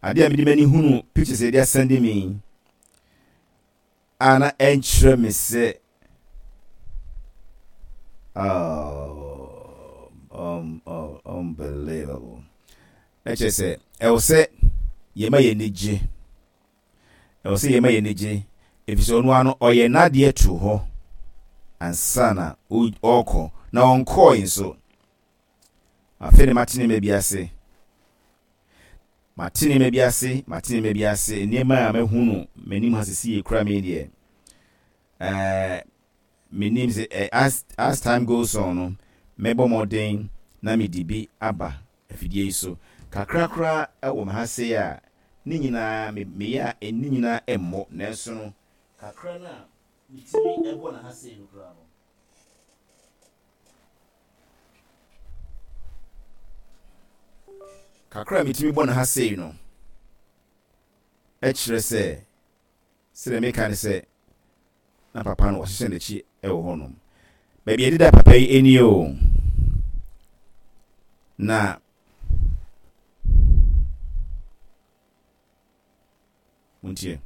Adeɛ a mede m'ani hunu pictures a yɛde asɛnde me yi a na ɛnkyerɛ me sɛ oh, um, oh, unbelievable. Na kyerɛ sɛ ɛwɔ sɛ yɛma yɛn ani gye. Ɛwɔ sɛ yɛma yɛn ani gye efisɛ ɔno ara no ɔyɛ n'adeɛ to hɔ ansa na ɔrekɔ na ɔnkɔɔe nso. Afei na mate nneɛma bi ase. Mate nneɛma bi ase, mate nneɛma bi ase. Nneɛma a mahu no m'anim ha sisi ekura me deɛ. Ɛɛ menim sɛ eh, as, as time goes on no, mɛbɔ mmɔden na mede bi aba afidie yi so. Kakra koraa wɔ me ha sei a, ne nyinaa me meyɛ a ne nyinaa mmɔ nanso no kakra no a metumi bɔ no ha sei no koraa no, Kakra a metumi bɔ no ha sei no kyerɛ sɛ, sɛdeɛ meka ne sɛ, na papa no wɔhyehyɛ n'akyi wɔ hɔnom. Baabi a yɛdeda papa yi nie o. Na montie.